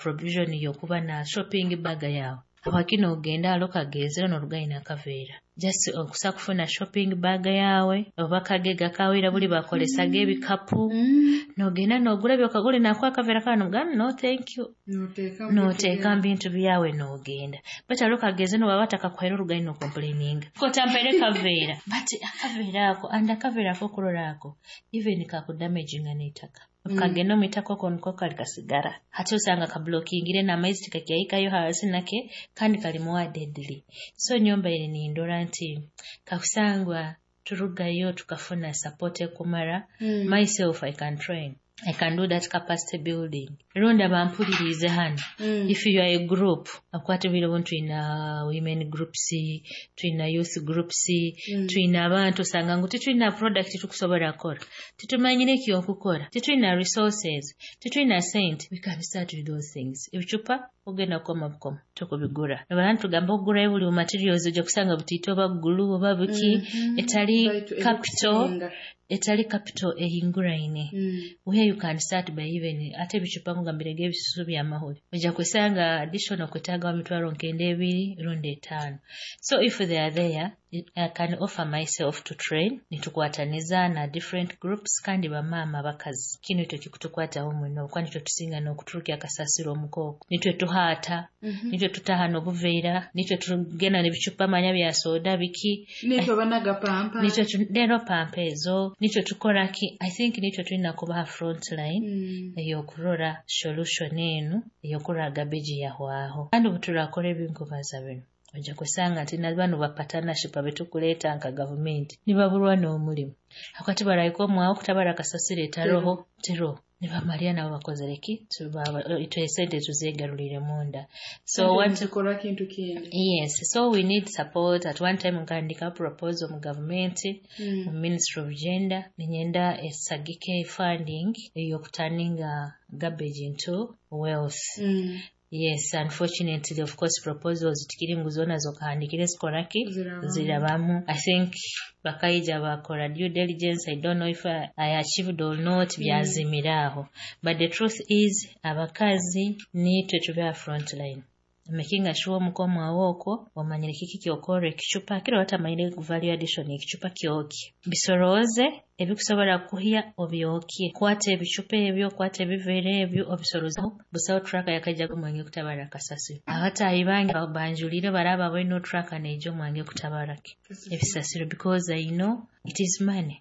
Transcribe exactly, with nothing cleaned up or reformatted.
Provision yokuba na shopping bag yawe, habwaki nogenda hali okagezera norugayo n'akaveera? Just okusa kufuna shopping bag yawe oba akagega kawe. Buli bakolesaga ebikapu, nogenda nogura byokagura, nakuha akaveera kawe, nogamba, "No, thank you." Noteeka mu bintu byawe nogenda. But hali okageze nobaba batakakuhaire, orugayo nocomplaininga kotampaire kaveera. But akaveera ako, and akaveera ako okurora ako, even kakudamaginga n'eitaka. Kagenda omu itaka okwo niko kali kasigara. Hati osanga kablockingire n'amaizi tikakyahikayo hansi nake, kandi kali more deadly. So nyombaire nindora nti kakusangwa turugayo tukafuna support ekumara. Myself, I can train, I can do that capacity building. Rundi abampuliriize hano, if you are a group, akwata obwire obu twina women groups, twina youth groups, twina abantu, osanga ngu titulina product tukusobola kukora, titumanyire ekyokukora, titulina resources, titulina sente, we can start with those things. Ebicupa ogenda kukoma bukoma tukubigura, nobara nitugamba okugurayo buli materials, ojja kusanga butiiti oba glue oba buki etali capital, etali capital ehinguraine, where you can start by even ate ebicupa nkugambire ebisusu byamahuri, ojja kusanga additional kwetaaga mitwalo nkenda ebiri rundi etaano. So if they are there, I can offer myself to train, nitukwataniza na different groups. Kandi bamaama, abakazi, kino itwe kikutukwataho muno, kuba nitwe tusinga n'okuturukya akasasiro omukooko, nitwe tuhaata, nitwe tutaha n'obuveera, nitwe tugenda n'ebicupa manya bya soda biki. Nitwe banaga pampa. Nitwe tu- leero pampa ezo nitwe tukora ki. I think nitwe tulina kubaha front line ey'okurora solution enu ey'okurora garbage yahwaho. Kandi obu turakora ebinkubaza bino, ojja kusanga nti na bano ba partnership abetukuleeta nka gavumenti nibaburwa n'omulimu, akati barahika omwawo kutabara akasasiro etaroho teroho, nibamalira nabo bakozere ki? Tuba- itwe esente tuzeegarulire munda. So what Zikora kintu kindi. Yes, so we need support. At one time nkandika proposal mu gavumenti, mu Ministry of Gender, ninyenda esagike funding ey'okuturninga garbage into wealth. Yes, unfortunately, of course, proposals tikiri ngu zoona zokahandikire zikoraki. Zirabamu. Zirabamu. I think bakaija bakora due diligence. I don't know if I, I achieved or not, byazimira aho. But the truth is, abakazi nitwe tube front line making sure omukomo okwo omanyire kiki kyokora ekicupa kiro, batamanyire value addition. Ekicupa kyokye, bisorooze ebikusobola kuhya, obyokye. Kwata ebicupa ebyo, kwata ebiveera ebyo, obisoroze. Busaho truck yakaija omwange kutabara kasasiro. Abataahi bange banjulire baraba balina truck neija omwange kutabara ki ebisasiro, because I know it is money.